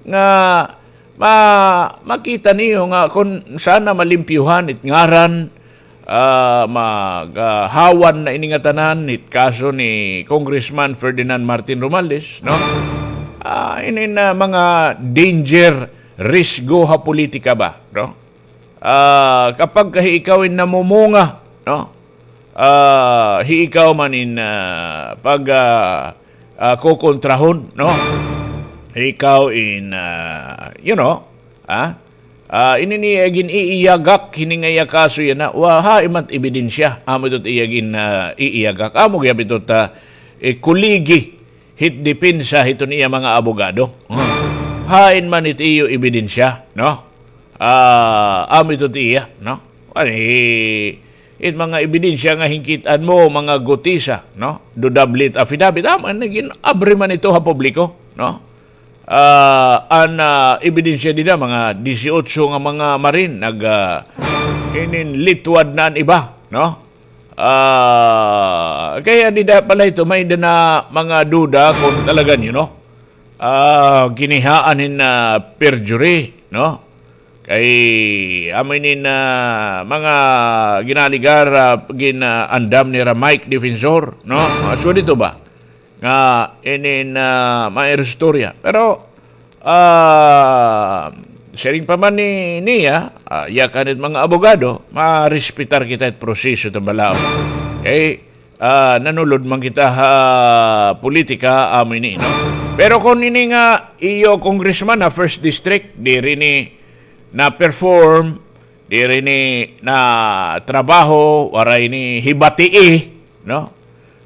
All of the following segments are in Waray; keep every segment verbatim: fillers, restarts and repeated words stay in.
nga ma-, makita niyo nga kon sana malimpyuhan it ngaran, ah, mag, ah, hawan na ini ngatanan it kaso ni Congressman Ferdinand Martin Romualdez, no? Ah, ini na mga danger, risgo ha politika ba, no? Ah, kapag ka hi ikaw in namumunga, no? Ah, hi ikaw man in, ah, pag, ah, ah, kukontrahon, no? Hi ikaw in, ah, you know, ah, ah, ini niya gin-iiyagak, hini nga iya kaso yana, wa, hain man it ebidensya, amo ito it iya gin, ah, iiyagak, amo gihap ito ta, eh, kuligi, hit depensa hiton iya mga abogado. Hain man it iyo ebidensya, no? Ah, amo ito it iya, no? Ani, it mga ebidensya nga hinkit-an mo, mga gutisa, no? Dudablit affidavit, amo, nagin-abri man ito ha publiko, no? Ah, an, ah, ebidensya dida, mga disiotso nga mga Marine, nag, ah, hininlitwad na an iba, no? Ah, kaya dida pala ito, may-ada na mga duda kung talaga, you know, ah, ginihaan hin, ah, perjury, no? Kay amo ini na mga ginaligar, ah, gin-, ah, andam nira Mike Defensor, no? Mga sugad ito ba? Nga ini na may istorya. Pero, ah, siring pa man ni, niya, ah, yakan it mga abogado, marespetar kita it proseso ta balaod. Okay? Ah, nanulod man kita ha politika, amo ini, no? Pero kon ini nga iyo congressman ha first district, diri ini na-perform, diri ini natrabaho, waray ini hibatii, no?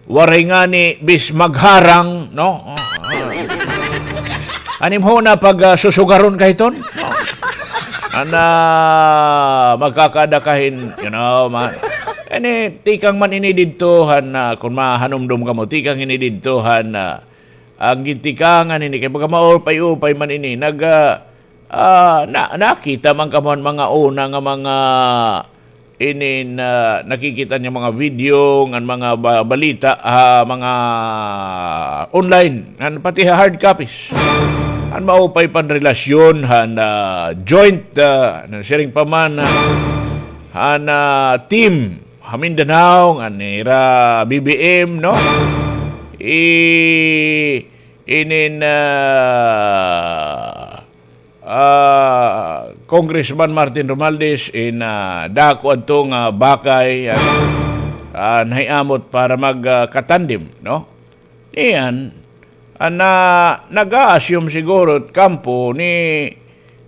Waray ngani bis magharang, no? An imo na pag, ah, susugaron ka hiton, no? Ana, magkakada ka hin, you know, ma-, ini, tikang man ini didto han, ah, kon mahanumdom kamo, tikang ini didto han, ah, an gintikangan ini, kay pagka maupay-upay man ini, nag, ah, ah, na-, nakita man kamo han mga una nga mga ini na nakikita niya mga video, ngan mga ba-, balita, ah, mga online, ngan pati ha hard copies. An maupay pan relasyon han, ah, joint, ah, siring pa man, ah, han, ah, team ha Mindanao, ngan nira B B M, no? I-, inin, ah, ah, Congressman Martin Romualdez in, ah, dako adto nga bakay, ah, ah, nahiamot para mag, ah, katandem, no? Niyan, ah, na, nag-a-assume siguro it kampo ni,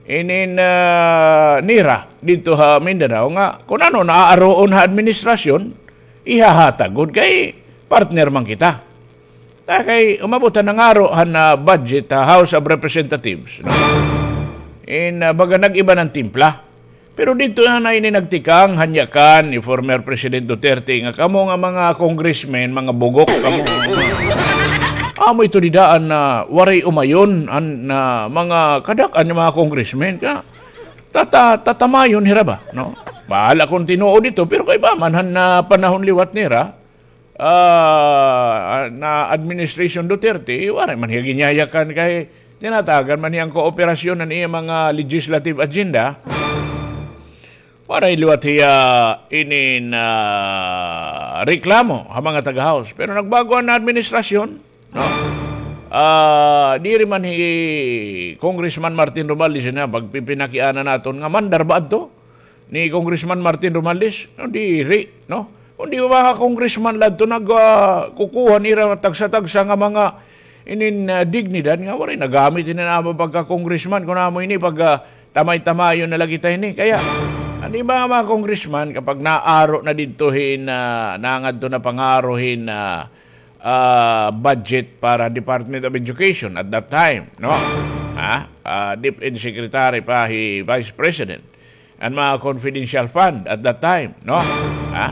inin, ah, nira didto ha Mindanao nga kon ano naaaroon ha administrasyon, ihahatag gud kay partner man kita. Ta kay umabot han nangaro han, ah, budget ha House of Representatives, no? In, ah, baga nag-iba na an timpla. Pero didto na ini nagtikang, han yakan ni former President Duterte nga kamo nga mga congressmen, mga bugok kamo. Amo ito dida an, ah, waray umayon, an, ah, mga kadak-an nga mga congressmen ka tata-, tatamayon hira ba, no? Bahala kon tinuod ito, pero kaiba man han, ah, panahon liwat nira, ah, na administration Duterte, waray man hiya ginyayakan kay tinatagan man hiya an kooperasyon han iya mga legislative agenda. Waray liwat hiya inin, ah, reklamo ha mga taga-House. Pero nagbago an administrasyon, no? Ah, diri man hi Congressman Martin Romualdez na pagpipinakiana naton nga mandar ba adto ni Congressman Martin Romualdez? No, diri, no? Kundi mga congressman la adto nag, ah, kukuha nira tagsa-tagsa nga mga inin, ah, dignidad nga waray nagamit ini na pagka-congressman. Kun amo ini pag, ah, tamay-tamayon na la kita ini. Kaya, an iba nga mga congressman, kapag naaro na didto hin, ah, nangadto na pangaro hin, ah, ah, budget para Department of Education at that time, no? Ha? Ah, DepEd Secretary pa hi Vice President. An mga confidential fund at that time, no? Ha?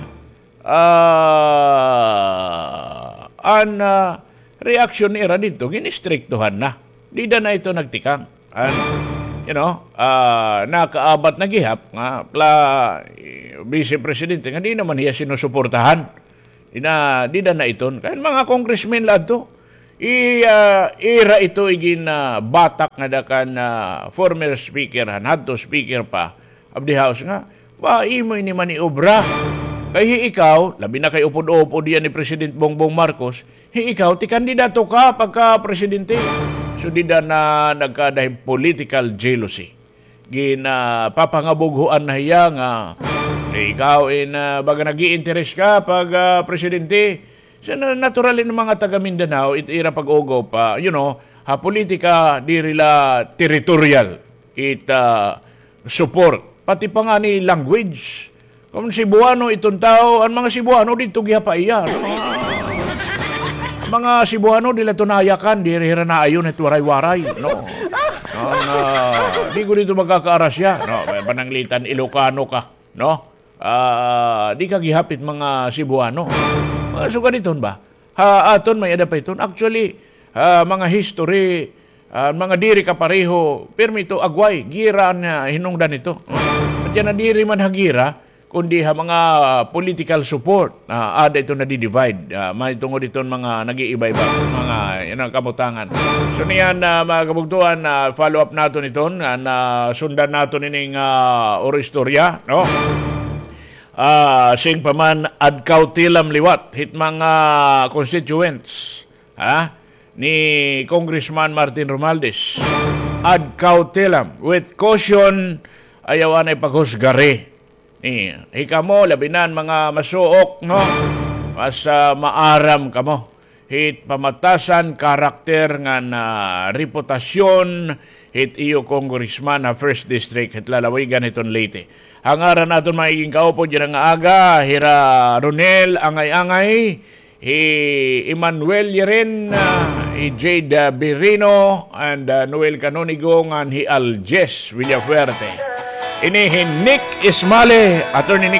Ah, an, ah, reaksyon nira didto, gin-istriktuhan na. Dida na ito nagtikang. An, you know, ah, nakaabat na gihap nga pla-, eh, Vice Presidente nga di naman hiya sinusuportahan. Ina, dida na iton. Kay an mga congressmen la adto, I, ah, ira ito igin, ah, batak nga da kan, ah, former speaker, han hadto speaker pa of the House nga, ba, imo ini maniobra. Kay hi ikaw, labi na kay upod-upod yan ni President Bongbong Marcos, hi ikaw, ti kandidato ka pagka-presidente. So, dida na nagkada hin political jealousy. Ginapapangabughoan na hiya nga, "Eh, ikaw, in, ah, baga nag-i-interes ka pag, ah, presidente." So, na-, natural in mga taga Mindanao, it ira pag-ugo pa, you know, ha politika, diri la territorial it, ah, support. Pati pa ngani language. Kon Cebuano iton tawo, an mga Cebuano didto gihap ha iya, no? Mga Cebuano, diri la ito nayakan, diri hira naayon it Waray-Waray, no? An, ah, di ko didto magkakaarasya, no? May pananglitan, Ilocano ka, no? Ah, di ka gihap it mga Cebuano. Mga sugad iton ba? Ha aton may-ada pa iton. Actually, ah, mga history, ah, mga diri kapareho, pirmi ito agway, gira an, ah, hinungdan ito. At yana diri man ha gira, kundi ha mga political support. Ah, ada ito nadi-divide. Ah, mahitungod iton mga nag-iiba-iba, mga, yan an kabutangan. So niyan, ah, mga kabugtoan, ah, follow up naton iton, ah, nasundan naton ining, ah, oro istorya, no? Ah, siring pa man, ad cautelaem liwat hit mga constituents, ha, ni Congressman Martin Romualdez. Ad cautelaem, with caution, ayaw anay paghusgari. Ni, hikamo, labi na an mga masuok, no? Mas, ah, maaram kamo hit pamatasan karakter ngan reputasyon hit iyo congressman ha First District hit lalawigan hiton Leyte. Ha ngaran naton mga igin kaupod yana nga aga, hira Ronel Angay-Angay, hi Emmanuel Yeren, ah, hi Jade, ah, Birino, and, ah, Noel Canonigo, ngan hi Aljes Villafuerte. Ini hi Nick Ismale, Attorney Nick